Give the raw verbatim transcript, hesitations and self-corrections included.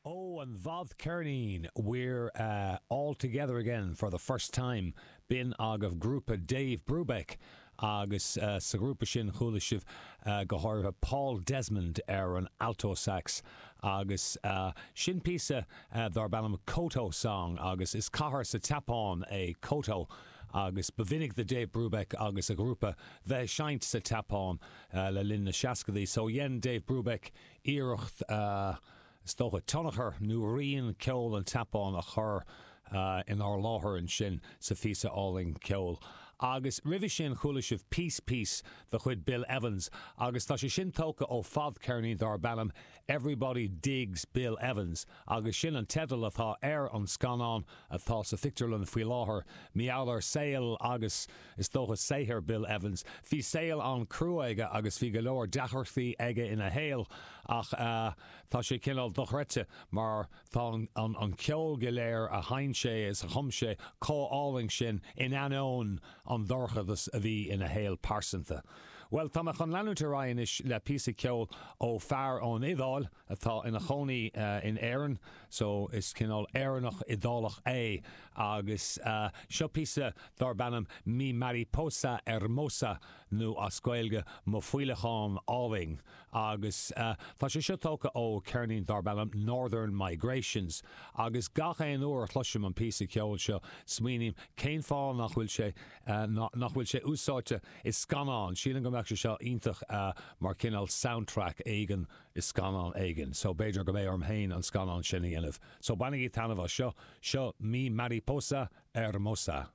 Ó an bhfadcheirnín We're uh, all together again for the first time b'in agaibh grúpa Dave Brubeck agus uh, sa ghrúpa sin chuala sibh uh, go háirithe Paul Desmond ar an alto sax agus uh, sin píosa uh, darb ainm Koto song agus is cathair sa tSeapáin é Koto agus ba mhinic do Dave Brubeck agus a ghrúpa bheith ag seinnt sa tSeapáin uh, le linn na seascadaí so dhein Dave Brubeck iarracht uh, is dócha tionchar nó rian ceol an tSeapáin a chur uh, inár láthair ansin sa phíosa álainn ceoil. Agus roimhe sin chuala sibh Peace Piece de chuid Bill Evans, agus tá sé sin tógtha ó fadcheirnín darb ainm Everybody Digs Bill Evans, agus sin an teideal atá ar an scannán atá sa phictiúrlann faoi láthair mar gheall ar saol agus is dócha saothar Bill Evans. Bhí saol an-chrua aige agus bhí go leor deacrachtaí aige ina shaol ach uh, tá sé cineál dochreidte mar tá an, an ceol go léir a sheinn sé is a chum sé chomh hálainn sin in ainneoin an dorchadas a bhí ina shaol pearsanta. Well tá chun leanúint ar aghaidh anois le píosa ceoil ó fear ón Iodáil atá ina chónaí uh, in Éirinn, so is cineál Éireannach Iodálach é agus uh, seo píosa darb ainm Mi Mariposa Hermosa nó as Gaeilge mo faoileán álainn agus uh, tá sé seo tógtha ó cheirnín darb ainm Northern Migrations agus gach aon uair a chloisim an píosa ceoil seo smaoiním cén fáth nach bhfuil sé uh, nach bhfuil sé úsáidte i scannán sílim go mbeadh sé seo iontach uh, mar cineál soundtrack éigin i scannán éigin, so b'fhéidir go mbeidh orm féin an scannán sin a dhéanamh. So bainigí taitneamh as seo seo Mi Mariposa Hermosa.